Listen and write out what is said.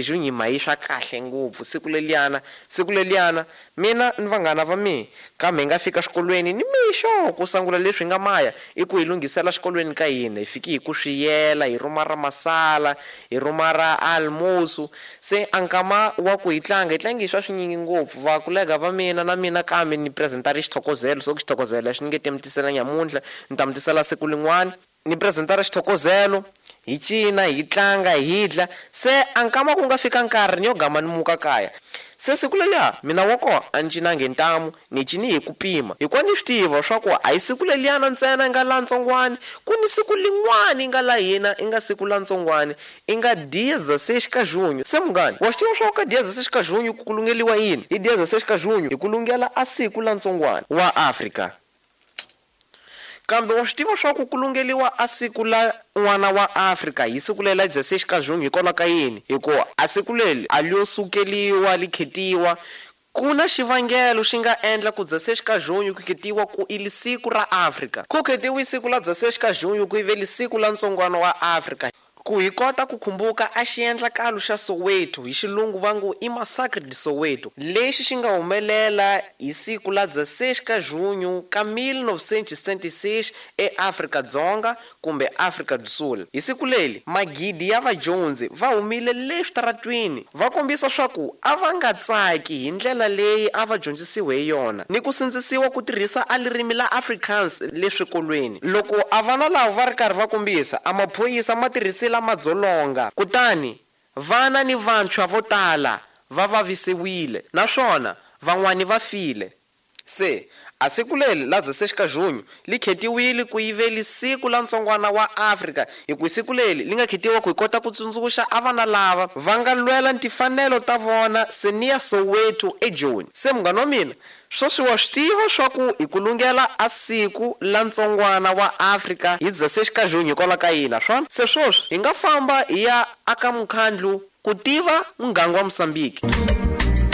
Junho hi mayi swa kahle ngopfu siku leliyana, siku leliyana mina ni vanghana va mina kambe hi nga fika xikolweni ni mixo ku sungula leswi hi nga maya i ku hi lunghisela xikolweni ka hina. Hi fiki hi ku swiyela, hi rhuma ra masala, hi rhuma ra almoso. Se a nkama wa ku hi tlanga, hi tlange hi swa swinyingi ngopfu. Vakulega va mina na mina kambe ni presentari xithokozelo, so ku xithokozelo xi ni nge te mi tisela nyamuntlha, ni ta mi tisela siku lin'wana. Ni presentara xithokozelo, hi cina, hi tlanga, hi dla. Se a nkama ku nga fika nkarhi ni yo gama ni muka kaya. Se siku leliya mina wa koho a ni cinangi hi ntamu, ni cini hi ku pima. Hikuva ni swi tiva swa ku a hi siku leliyana ntsena i nga la ntsongwani, ku ni siku lin'wani i nga la hina i nga siku la ntsongwani, i nga dia 16 ka junho. Se munghani, wa swi tiva swa ku ka dia 16 ka junho ku kulungeliwa yini? Hi dia 16 ka junho hi kulungela a siku la ntsongwani wa Afrika. Kambe wa swi tiva swa ku kulungeliwa a siku la n'wana wa Afrika hi siku leri la 16 ka junho hikwalaho ka yini? Hikuva a siku leri a li yo sukeliwa li khetiwa. Ku na xivangelo xi nga endla ku 16 ka junho ku khetiwa ku i siku ra Afrika. Ku khetiwe siku la 16 ka junho ku ive siku la ntsongwana wa Afrika. Ku hi kota ku khumbuka a xiendlakalo xa Soweto, hi xilungu va ngo i Massacre de Soweto, lexi xi nga humelela hi siku la 16 ka junho ka 1976 eAfrika-Dzonga kumbe Afrika do Sul. Hi siku leri magidi ya vadyondzi va humile le switaratwini va kombisa swa ku a va nga tsaki hi ndlela leyi a va dyondzisiwe hi yona ni ku sindzisiwa ku tirhisa a ririmi la Afrikaans le swikolweni. Loko a vana lava va ri karhi va kombisa, a maphorisa ma tirhisile madzolonga, kutani vana ni vantshwa vo tala va vavisiwile naswona van'wani va file. Se a siku leri la 16 ka junho li khetiwile ku yiveli siku la ntsongwana wa Afrika, hi ku siku leri li nga khetiwa ku hi kota ku tsundzuxa a vana lava va nga lwela timfanelo ta vona seniya Soweto eJoni. Se munghana wa mina, sweswi wa swi tiva swa ku hi kulungela a siku la ntsongwana wa Afrika hi 16 ka junho hikwalaho ka yini swona? Se sweswi hi nga famba hi ya aka mukhandlu ku tiva muganga wa Mozambique.